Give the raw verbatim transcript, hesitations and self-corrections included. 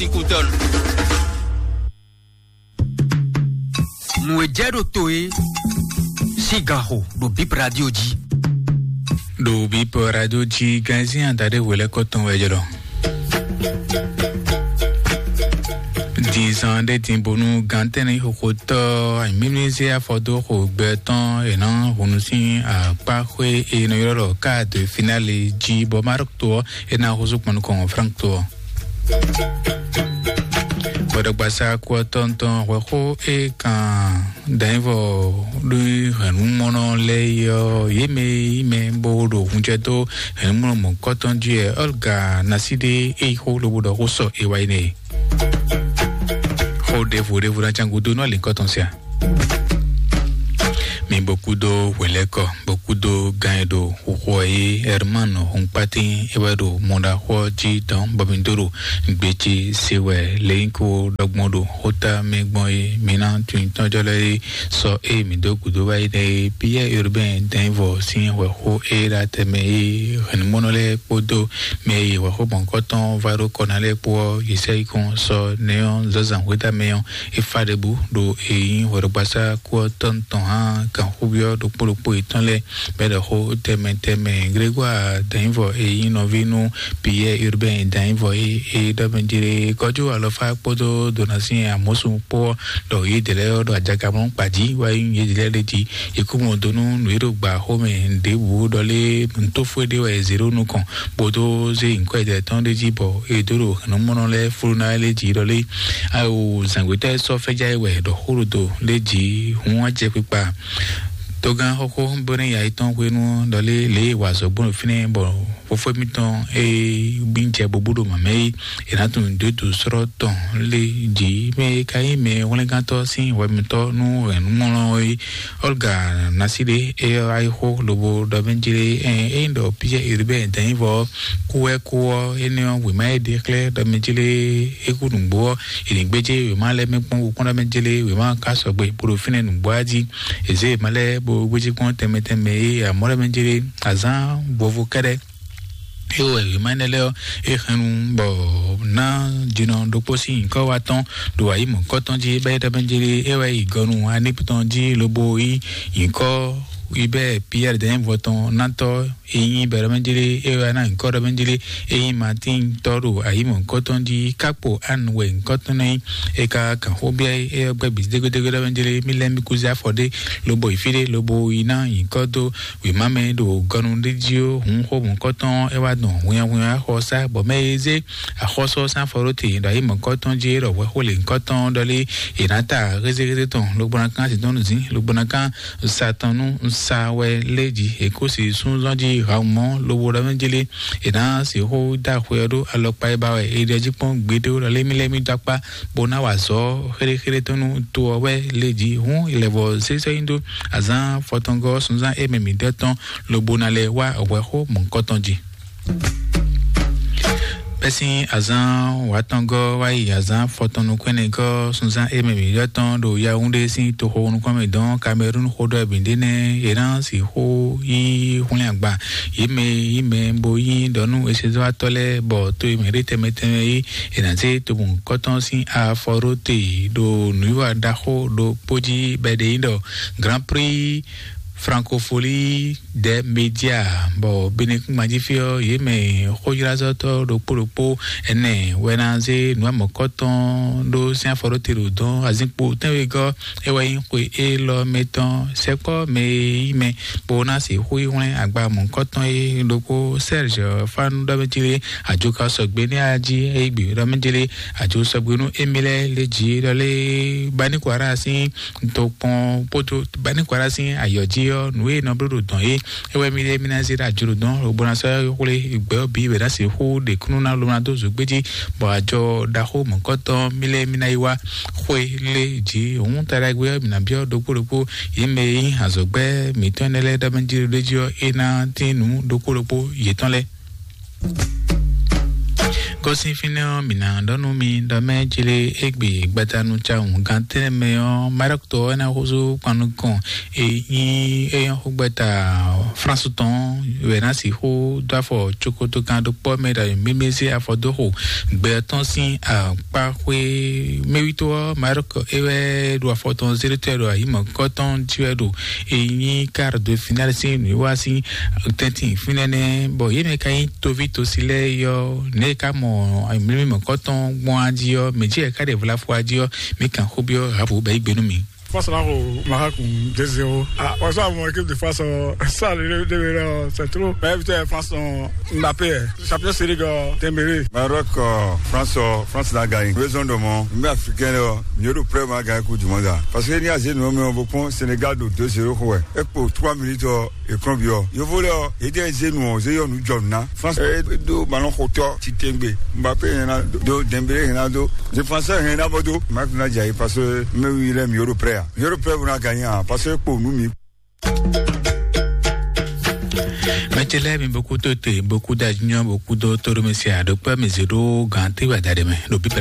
Écoutons. Nǔ e jɛ ɖo to é sín ganxo ɖo Bip Radio jí. Ɖo Bip Radio jí, ganzin adaɖé hwelɛ́kɔ tɔn wɛ jɛ ɖɔ. Din zan ɖé din bónú gantɛ́nɛ xóxótɔ́ mímízé afɔdó xo gbɛ tɔn è nɔ hunu sín akpáxwé e nɔ ylɔ́ ɖɔ quart de finale jí bɔ Maroc to ɔ́, é ná húzú kpɔn nukɔn Frank to ɔ́. Gbɔdɔgbasa kú ɔ́ tɔntɔn hwɛxó e kan danyivɔ ɖó hɛ̌nnumɔnɔ lɛ́ɛ é ɔ́, yě mɛ e nyí mɛ bó ɖo hunjɛ dó hɛ̌nnumɔnɔ mɔ̌hunkɔtɔn jí wɛ Olga Naside e yi xó lobo ɖɔ xó sɔ e wá yi nɛ. Xó ɖěvo ɖěvo ná can gúdo nú alǐkɔ tɔn sia. Mi bó kúdó hwelɛ́kɔ, bó kúdó gan e ɖo xuxu ɔ́ é Herman Hunkpatín é wɛ ɖo mɔɖaxó ɔ́ jí dɔn bɔ mi dó ɖo gbéjé se wɛ lěnyíkó ɖɔgbɔn ɖo xóta mɛ gbɔn é mi ná tunwun tɔ́jɔ́ lɛ́ɛ é sɔ é mi dó gǔdo wá yi ɖɛ é Pierre Urbain Dɛnvɔ sín hwɛxó é ɖo atɛmɛ é hɛ̌nnumɔnɔ lɛ́ɛ kpódó mɛ e hwɛxó mɔ̌hunkɔtɔn vá ɖó kɔ ná lɛ́ɛ kpó ɔ́, yě sɛ yi kɔn sɔ nɛ́ ɔ́ zǎnzǎn xwéta mɛ ɔ́, é fá ɖěbǔ ɖo e nyí hwɛɖɔgbasá kú ɔ́ tɔn tɔn hán gǎnxúbyɔ́ ɖokpó ɖokpó yětɔn lɛ́ɛ bɔ é ɖɔ xó tɛnmɛ tɛnmɛ. Grégoire Danyivɔ e nyí nɔví nú Pierre Urbain Danyivɔ e e ɖɔ mɛ jlé kɔjú alɔfá kpódó Donatien Amosu kpó ɔ́, ɖɔ yědɛɛ lɛ́ɛ ɔ́ ɖo ajakamlɔ́ kpa jí wá nyí yědɛɛ lɛ́ɛ ɖ'é jí. È kú mɔ do nú nǔ e ɖo gbǎxó mɛ ɖěbǔ ɖɔ lé nǔtófó e ɖe wɛ è zě ɖó nukɔn bó dó zé nyǐkɔ yědɛɛ tɔn ɖ'é jí bɔ è dó ɖo hɛ̌nnumɔnɔ lɛ́ɛ flú ná lɛ́ɛ jí ɖɔ lé awo zǎngbétɔ́ e sɔ́ fɛ́já é wɛ ɖɔ xó ɖo do lé jí hǔn acɛkpikpa. Togán xóxó bó nɛ́ ya yětɔn hwenu ɔ́ ɖɔ lé lě e è wa azɔ̌ gbɔn ɖo fínɛ́ bɔ fofó mitɔn e gbín jɛ bóbú ɖo mǎmɛ é, è nǎ tunwun dǒdǒ srɔ́ tɔn lé jí mɛ e ka nyí mɛ hwlɛ́ngántɔ́ sín hwɛmɛtɔ́ nú hɛ̌nnumɔlɔ é. Olga Naside é ɔ́, ayixó lobo ɖɔ mɛ jlé ɛ é nyí ɖɔ Pierre Urbain Danyivɔ kú wɛ kú ɔ́, énɛ́ ɔ́, wěma e ɖe xlɛ́ ɖɔ mɛ jlé é kú nǔgbó ɔ́, è nǐ gbéjé wěma lɛ́ɛ mɛ kpɔ́n kpɔ́n ɖɔ mɛ jlé wěma ɔ́ ka sɔgbe bó ɖo fínɛ́ nǔgbó ɔ́ jí. È zě wěma lɛ́ɛ bó gbéjé kpɔ́n tɛnmɛ tɛnmɛ é amɔ̌ ɖɔ mɛ jlé azǎn vovo kɛ́ɖɛ́. É wɛ wěma énɛ́ lɛ́ɛ ɔ́, é hɛn nu bɔ ná jinɔ ɖokpó sín nyǐkɔ wa tɔn ɖo ayǐ mɔ̌kɔtɔn jí bɔ é ɖɔ mɛ jlé é wɛ yi gɔnu aníputɔn jí lobo yí nyǐkɔ yi bɛ Pierre Dɛnyɛvɔ tɔn ná tɔ́ e nyí bɛ ɖɔ mɛ jlé é wɛ ná nyǐkɔ ɖɔ mɛ jlé é nyí Martin tɔ́ ɖo ayǐ mɔ̌kɔtɔn jí kákpo Anne wɛ nyǐkɔ tɔn ná nyí. É ka kan xó bia é ɔ́ gbɛ́ bǐ dégédégé ɖɔ mɛ jlé mí lɛ́ mí kú zé afɔ ɖé lobo yi fí ɖé lobo yi ná nyǐkɔ dó wěma mɛ ɖo gɔnu ɖé jí ó hǔn xó mɔ̌kɔtɔn é wá dɔn hwinnyahwinnya xɔ sá bɔ mɛ e zé axɔ́sú ɔ́ sín afɔ ɖó te ɖo ayǐ mɔ̌kɔtɔn jí é ɖɔ hwɛxó lě ŋkɔtɔn ɖɔlé è nǎ ta hézéhézé tɔn lobo ná kán zǐndɔ́núzǐn lobo ná kán sa tɔn nú sa wɛ lé jí è kó si súnzɔ́n jí haumɔ lobo ɖɔ mɛ jélé è nǎ sixú dó axwe ɔ́ ɖó alɔkpa e ba wɛ è ɖe jí kpɔ́n gbeɖé ɖɔlé mí lɛ́ mí dó akpá bó ná wa azɔ̌ xéɖéxéɖé tɔn nú to ɔ́ wɛ lé jí hǔn è lɛ̌ vɔ zé sɔ́ nyi dó azǎn fɔtɔngɔ́ sunzán é mɛ mǐ ɖɔ tɔn lobo ná lɛ́ wá hwɛxó mɔ̌hunkɔtɔn jí. Bɛ́ sín azǎn wǎtɔngɔ́ wá yi azǎn fɔtɔn nukɔn ɛnɛgɔ́ sunzán é mɛ mǐ ɖɔ tɔn ɖo Yaoundé sín toxo nukɔn mɛ dɔn Kamerun xó ɖɔ bǐ ɖé nɛ́ è nǎ sixú yí hwlɛ́n agba yě mɛ yí mɛ bó yí ɖɔ nú esezɔ́watɔ́ lɛ́ɛ bɔ to e mɛ ɖé tɛnmɛ tɛnmɛ yí è nǎ zé tobun kɔ́tɔn sín afɔ ɖó te ɖo nǔwiwa ɖaxó ɖokpó jí bɔ è ɖe nyí ɖɔ Grand Prix Francophonie des Médias bɔ Benekúngban jí fí ɔ́ yě mɛ xóylázɔ́tɔ́ ɖokpó ɖokpó ɛnɛ wɛ ná zé nǔ amɔ̌kɔ́tɔn ɖó sín afɔ ɖó te ɖo dɔn azínkpo tɛ́nwegɔ́ é wɛ nyí xwe élɔ́ mɛ tɔn sɛkpɔ́ mɛ e yí mɛ bó ná sixú yi hwlɛ́n agba mɔ̌kɔ́tɔn é ɖokpó Serge Fanu ɖɔ mɛ jlé ajoka sɔgbe ní ají é gbe ɖɔ mɛ jlé ajo sɔgbe nú émí lɛ́ɛ lé jí ɖɔ lé Banikwara sín tokpɔn kpódó Banikwara sín ayɔ jí ɔ́ nǔ e nɔ bló ɖo dɔn é é wɛ mí ɖe mí ná zé ɖo ajo ɖo dɔn lobo ná sɔ́ xwlé gbɛ ɔ́ bǐ wɛ ná sixú ɖe kúnnu ná lobo ná dó zǒgbé jí bɔ ajɔ ɖaxó mɔ̌kɔtɔn mí lɛ́ɛ mí ná yi wá xwé lé jí òun taɖagbe ɔ́ mǐ ná byɔ́ ɖokpó ɖokpó yě mɛ e nyí azɔ̌gbɛ́ mǐtɔn énɛ́ lɛ́ɛ ɖɔ mɛ jí ɖo ɖé jí ɔ́ é ná tín nǔ ɖokpó ɖokpó yětɔn lɛ́ɛ. Kɔsin fínɛ́ ɔ́, mǐ ná ɖɔ nú mi ɖɔ mɛ jlé égbé gbadanu cawun gantɛ́nɛ mɛ ɔ́, Maroc tɔ ɔ́ ná xózó kpan nukɔn e nyí éyɔ́ xógbɛ́ta France tɔn wɛ ná sixú dó afɔ cokoto kan ɖokpɔ́ mɛ ɖo mímí zé afɔ dó xo gbɛ tɔn sín akpáxwé. Mɛwítɔ́ ɔ́, Maroc é wɛ ɖo afɔ tɔn zéɖétɔ́ ɖo ayǐ mɔ̌kɔ́tɔn jí wɛ ɖo e nyí quart de finale sín nǔwiwa sín tɛ́ntin fínɛ́nɛ́, bɔ yě mɛ ka nyí toví tosi lɛ́ɛ yɔ, nɛ̌ ka mɔ mlímí mɔ̌kɔtɔn gbɔn á jí ɔ́, mɛ jí ɛ ka ɖe vlafo á jí ɔ́, mi kan xó byɔ́ Habu bɛ yí gbe nú mi. Face là au Maroc deux zéro. Ah, on va voir l'équipe de face, euh, ça, le, le, le, c'est trop. Mais putain, France, on, Mbappé, eh, champion série, euh, Dembélé. Maroc, euh, France, euh, France l'a gagné. Raison de mon, mais africain, là, mieux de près, on a gagné Coupe du Monde, là. Parce que ni a zé nous, mais on va prendre Sénégal de deux zéro, quoi. Et pour trois minutes, euh, e kɔn byɔ. Yovo lɛ ɔ, e ɖe zé nu ɔ, zé yɔ nu jɔ nu na. France e do balɔn xotɔ titengbe. Mbappé hɛn na do, Dembélé hɛn na do, défenseur hɛn na bɔ do. Match na dza yi parce que mɛ wi lɛ mi yoro prêt a. Mi yoro prêt bó na gagné a, parce que kpo nu mi. Mɛtɛ lɛ mi boku to te, boku da junior, boku do toro mi se a, ɖo kpɛ mi zé ɖo gan te wa da ɖe mɛ, ɖo bibra.